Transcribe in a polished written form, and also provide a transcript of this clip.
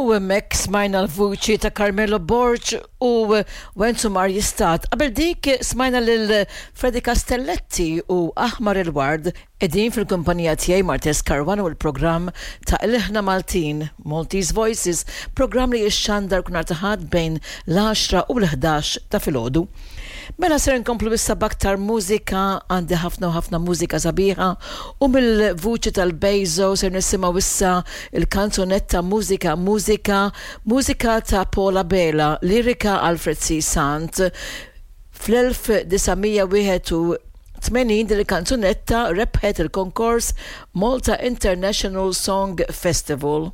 U hemmhekk smajna l-vuċi ta' Carmelo Borg u Wenzu Mar Jistat. Qabel dik smajna lil Freddy Castelletti u Aħmar il-Ward qegħdin fil-kumpanija tiegħi Martes Caruana u l-programm ta' Ilħna Maltin, Maltese Voices, programm li jixxandar kull nhar ta' Ħadd bejn l-għaxra u l-ħdax ta' filgħodu. Mela ser inkomplu issa b'aktar mużika, għandi ħafna u ħafna mużika sabiħa u mill-vuċi tal-Bejzo ser nisimgħu issa il-kanzunetta Mużika Mużika, mużika ta' Paul Abela, lirika Alfred C. Sant. Fl-1981 din il-kanzunetta rebħet il-konkors Malta International Song Festival.